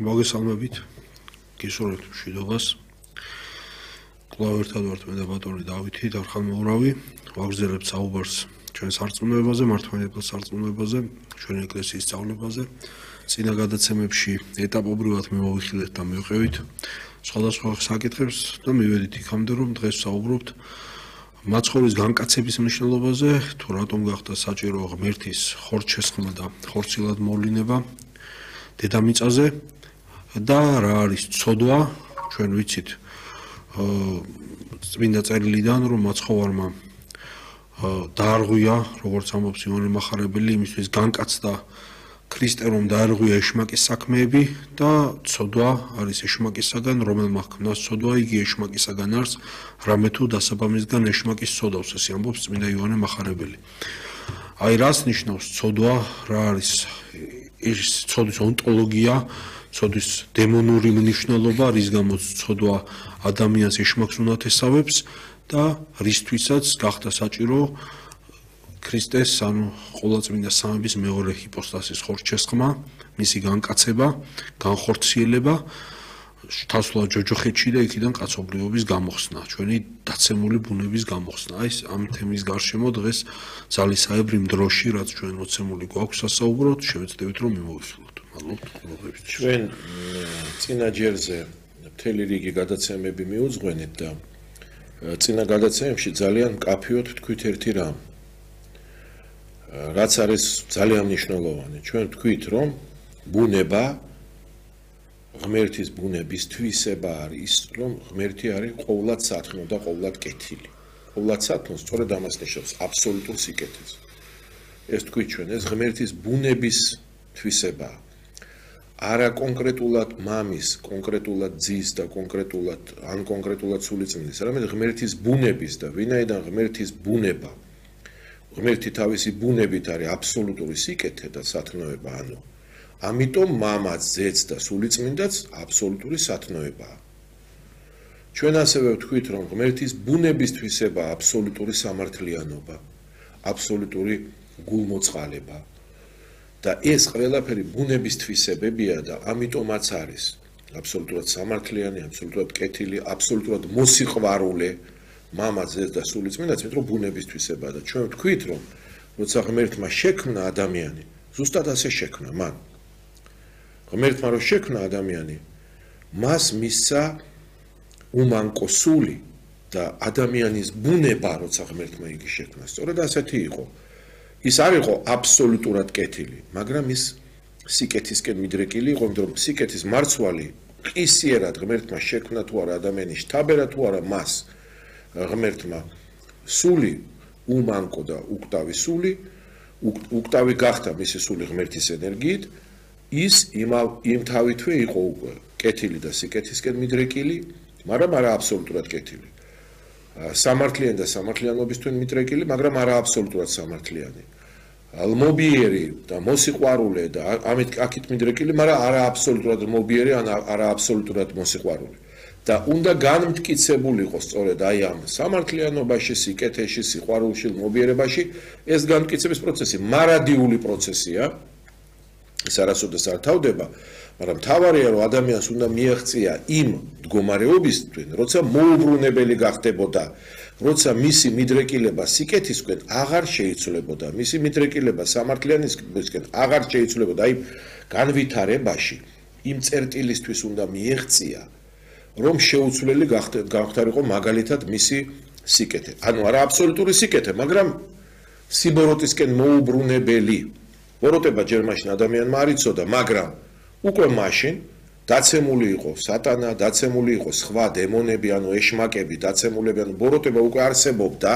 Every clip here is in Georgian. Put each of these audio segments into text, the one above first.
მოგესალმებით. გისურვებთ მშვიდობას. კვლავ ერთად ვართ მე და ბატონი დავითი, დარხანმოურავი. ვაგრძელებთ საუბარს ჩვენ სარწმუნოებაზე, მართლმადიდებლურ სარწმუნოებაზე, ჩვენი ეკლესიის სწავლებაზე. წინა გადაცემებში ეტაპობრივად მოვიხილეთ და მივყევით სხვადასხვა საკითხებს და მივედით იქამდე, რომ დღეს ვსაუბრობთ მაცხოვრის განკაცების მნიშვნელობაზე, თუ რატომ გახდა საჭირო ღმერთის ხორცშესხმა და ხორცილად მოვლინება დედამიწაზე და რა არის ცოდვა, ჩვენ ვიცით წმინდა წერილიდან, რომ მაცხოვარმა დაარღვია, როგორც ამბობს იოანე მახარებელი, იმისთვის განკაცდა ქრისტე, რომ დაარღვია ეშმაკის საქმეები და ცოდვა არის ეშმაკისაგან, რომელმა ჰქმნას ცოდვა, იგი ეშმაკისაგან არის, რამე თუ დასაბამისგან ეშმაკის ცოდავს, ესე ამბობს წმინდა იოანე მახარებელი. აი რას ნიშნავს ცოდვა, რა არის ეს ცოდვის ონტოლოგია, ცოდვის დემონური მნიშვნელობა, რის გამოც ცოდვა ადამიანს ეშმაკს უნათესავებს და რისთვისაც გახდა საჭირო ქრისტეს, ანუ ყოვლადწმინდა სამების მეორე ჰიპოსტასის ხორცშესხმა, მისი განკაცება, განხორციელება, თავსულად ჯოჯოხეთში და იქიდან კაცობრიობის გამოხსნა, ჩვენი დაცემული ბუნების გამოხსნა. აი ამ თემის გარშემო დღეს ძალისაებრი დროში, რაც ჩვენ მოცემული გვაქვს სასაუბროდ, შევეცდებით რომ მიმოვიხილოთ. მადლობთ ყურადღებისთვის. ჩვენ წინა ჯერზე მთელი რიგი გადაცემები მიუძღვენით და წინა გადაცემებში ძალიან მკაფიოდ თქვით ერთი რამ. რაც არის ძალიან მნიშვნელოვანი. ჩვენ თქვით, რომ ბუნება ღმერთის ბუნების თვისება არის, რომ ღმერთი არის ყოვლად სათნო და ყოვლად კეთილი. ყოვლად სათნო სწორედ ამას ნიშნავს აბსოლუტურ სიკეთეს. ეს თქვით ჩვენ, ეს ღმერთის ბუნების თვისებაა. არა კონკრეტულად მამის, კონკრეტულად ძის და კონკრეტულად სულიწმინდის, არამედ ღმერთის ბუნების და ვინაიდან ღმერთის ბუნება, ღმერთი თავისი ბუნებით არის აბსოლუტური სიკეთე და სათნოება, ანუ ამიტომ მამაც, ძეც და სულიწმინდაც აბსოლუტური სათნოებაა. ჩვენ ასევე ვთქვით, რომ ღმერთის ბუნების თვისება აბსოლუტური სამართლიანობა, აბსოლუტური გულმოწყალება. და ეს ყველაფერი ბუნების თვისებებია და ამიტომაც არის აბსოლუტურად სამართლიანი, აბსოლუტურად კეთილი, აბსოლუტურად მოსიყვარულე მამა, ძეც და სულიწმინდაც, მეტყვი ბუნების თვისებაა და ჩვენ ვთქვით, რომ როცა ღმერთმა შექმნა ადამიანი, ზუსტად ასე შექმნა მან. ღმერთმა რო შექმნა ადამიანი, მას მისცა უმანკო სული და ადამიანის ბუნება, როცა ღმერთმა იგი შექმნა, სწორედ ასეთი იყო. ის არ იყო აბსოლუტურად კეთილი, მაგრამ ის სიკეთისკენ მიდრეკილი იყო, იმიტომ რომ სიკეთის მარცვალი ყისიერად ღმერთმა შექმნა თუ არა ადამიანის შთაბერა თუ არა მას ღმერთმა სული უმანკო და უკტავი სული, უკტავი გახდა მისი სული ღმერთის ენერგიით, ის იმ თავითვე იყო უკვე კეთილი და სიკეთისკენ მიდრეკილი, მაგრამ არა აბსოლუტურად კეთილი. სამართლიანი და სამართლიანობისთვის მიდრეკილი, მაგრამ არა აბსოლუტურად სამართლიანი. ლმობიერი და მოსიყვარულე და აქეთ მიდრეკილი, მაგრამ არა აბსოლუტურად ლმობიერი, არა აბსოლუტურად მოსიყვარულე. და უნდა განმტკიცებულიყო სწორედ აი ამ სამართლიანობაში, სიკეთეში, სიყვარულში, ლმობიერებაში ეს განმტკიცების პროცესი მარადიული პროცესია. ეს არასოდეს არ თავდება, მაგრამ თავარია, რომ ადამიანს უნდა მიაღწია იმ მდგომარეობისთვის, როცა მოუბრუნებელი გახდებოდა, როცა მისი მიდრეკილება სიკეთისკენ აღარ შეიცვლებოდა, მისი მიდრეკილება სამართლიანისკენ აღარ შეიცვლებოდა, აი განვითარებაში იმ წერტილისთვის უნდა მიაღწია, რომ შეუცვლელი გახდარიყო მაგალითად მისი სიკეთე. ანუ არა აბსოლუტური სიკეთე, მაგრამ სიბოროტისკენ მოუბრუნებელი. ბოროტება ჯერ მაშინ ადამიანმა არ იცოდა, მაგრამ უკვე მაშინ დაცემული იყო სატანა, დაცემული იყო სხვა დემონები, ანუ ეშმაკები, დაცემულები, ანუ ბოროტება უკვე არსებობდა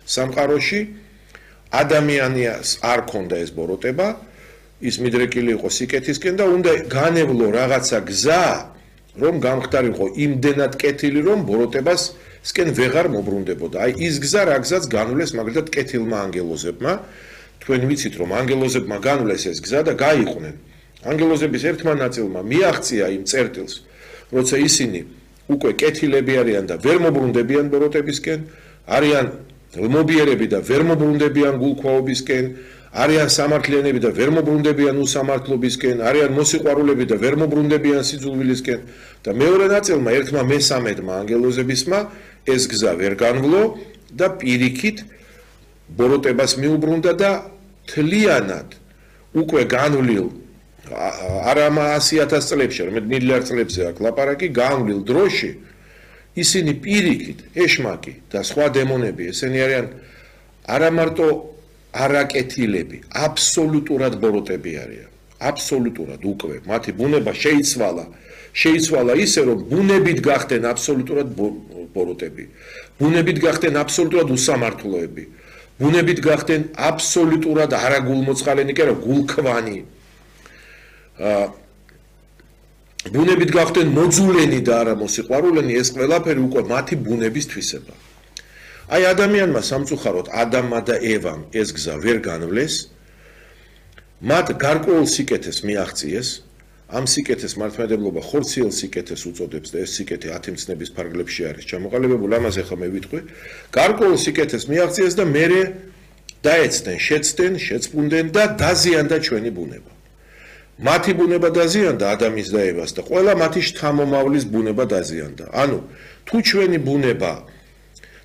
სამყაროში. ადამიანს არ ქონდა ეს ბოროტება, ის მიდრეკილი იყო სიკეთისკენ და უნდა განევლო რაღაცა გზა, რომ გამხდარიყო იმდენად კეთილი, რომ ბოროტებასკენ ვეღარ მობრუნდებოდა. აი ის გზა რა გზაც განვლეს მაგალითად კეთილმა ანგელოზებმა. თქვენ ვიცით, რომ ანგელოზებმა განვლეს ეს გზა და გაიყვნენ. ანგელოზების ერთმა ნაწილმა მიაღწია იმ წერტილს, როცა ისინი უკვე კეთილები არიან და ვერ მობრუნდებიან ბოროტებისკენ, არიან ლმობიერები და ვერ მობრუნდებიან გულქვაობისკენ, არიან სამართლიანები და ვერ მობრუნდებიან უსამართლობისკენ, არიან მოსიყვარულები და ვერ მობრუნდებიან სიძულვილისკენ და მეორე ნაწილმა ერთმა მესამედმა ანგელოზებისმა ეს გზა ვერ განვლო და პირიქით ბოროტებას მიუბრუნდა და თლიანად უკვე განვლილ არა 100,000 წლებში, არამედ მილიარდ წლებზე აქ ლაპარაკი, განვლილ დროში ისინი პირიქით, ეშმაკი და სხვა დემონები, ესენი არიან არა მარტო არაკეთილები, აბსოლუტურად ბოროტები არიან. აბსოლუტურად უკვე მათი ბუნება შეიცვალა ისე რომ ბუნებით გახდნენ აბსოლუტურად ბოროტები. ბუნებით გახდნენ აბსოლუტურად უსამართლოები. ბუნებით გახდნენ აბსოლუტურად არაგულმოწყალენი, კი არა, გულქვანი. ბუნებით გახდნენ მოძულენი და არა მოსიყვარულენი, ეს ყველაფერი უკვე მათი ბუნების თვისება. აი ადამიანმა სამწუხაროდ ადამმა და ევამ ეს გზა ვერ განვლეს, მათ გარკვეულ სიკეთეს მიაღწიეს, ამ სიკეთეს მართლმადიდებლობა ხორციელ სიკეთეს უწოდებს და ეს სიკეთე 10 მცნების ფარგლებში არის ჩამოყალიბებული, ამას ახლა მე ვიტყვი. გარკვეულ სიკეთეს მიაღწიეს და მერე დაეცდნენ, შეცდნენ, შეწმუნდნენ და დაზიანდა ჩვენი ბუნება. მათი ბუნება დაზიანდა ადამის და ევას და ყველა მათი შთამომავლის ბუნება დაზიანდა. ანუ თუ ჩვენი ბუნება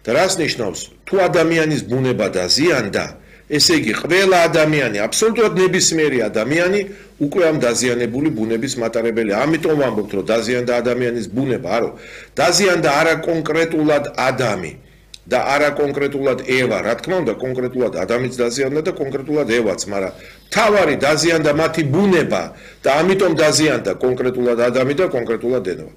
და რას ნიშნავს? თუ ადამიანის ბუნება დაზიანდა, ესე იგი ყველა ადამიანი, აბსოლუტურად ნებისმიერი ადამიანი უკვე ამ დაზიანებული ბუნების მატარებელია. ამიტომ ვამბობთ, რომ დაზიანდა ადამიანის ბუნება, არო, დაზიანდა არა კონკრეტულად ადამი და არა კონკრეტულად ევა, რა თქმა უნდა, კონკრეტულად ადამიანიც დაზიანდა და კონკრეტულად ევაც, მაგრამ თავარი დაზიანდა მათი ბუნება და ამიტომ დაზიანდა კონკრეტულად ადამი და კონკრეტულად ევა.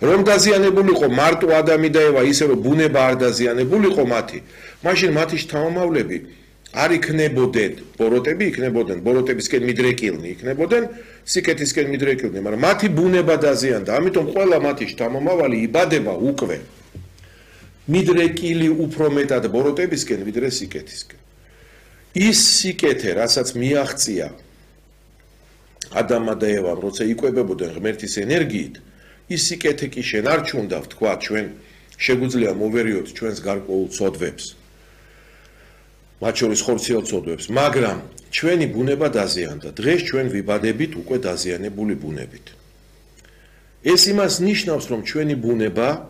რომ დაზიანებულიყო მარტო ადამი და ევა, ისე რომ ბუნება არ დაზიანებულიყო მათი, მაშინ მათი შთამომავლები არ იქნებოდნენ ბოროტები, იქნებოდნენ ბოროტებისკენ მიდრეკილნი, იქნებოდნენ სიკეთისკენ მიდრეკილნი, მაგრამ მათი ბუნება დაზიანდა, ამიტომ ყველა მათი შთამომავალი იბადება უკვე მიდრეკილი უფრო მეტად ბოროტებისკენ, ვიდრე სიკეთისკენ. ის სიკეთე, რასაც მიაღწია ადამმა და ევამ, როცა იკვებებოდნენ ღმერთის ენერგიით, ის სიკეთე კი შენ არ ჩუნდა, ვთქვა, ჩვენ შეგვიძლია მოვერიოთ ჩვენს გარკვეულ ცოდვებს, მათ შორის ხორციელ ცოდვებს, მაგრამ ჩვენი ბუნება დაზიანდა. დღეს ჩვენ ვიბადებით უკვე დაზიანებული ბუნებით. ეს იმას ნიშნავს, რომ ჩვენი ბუნება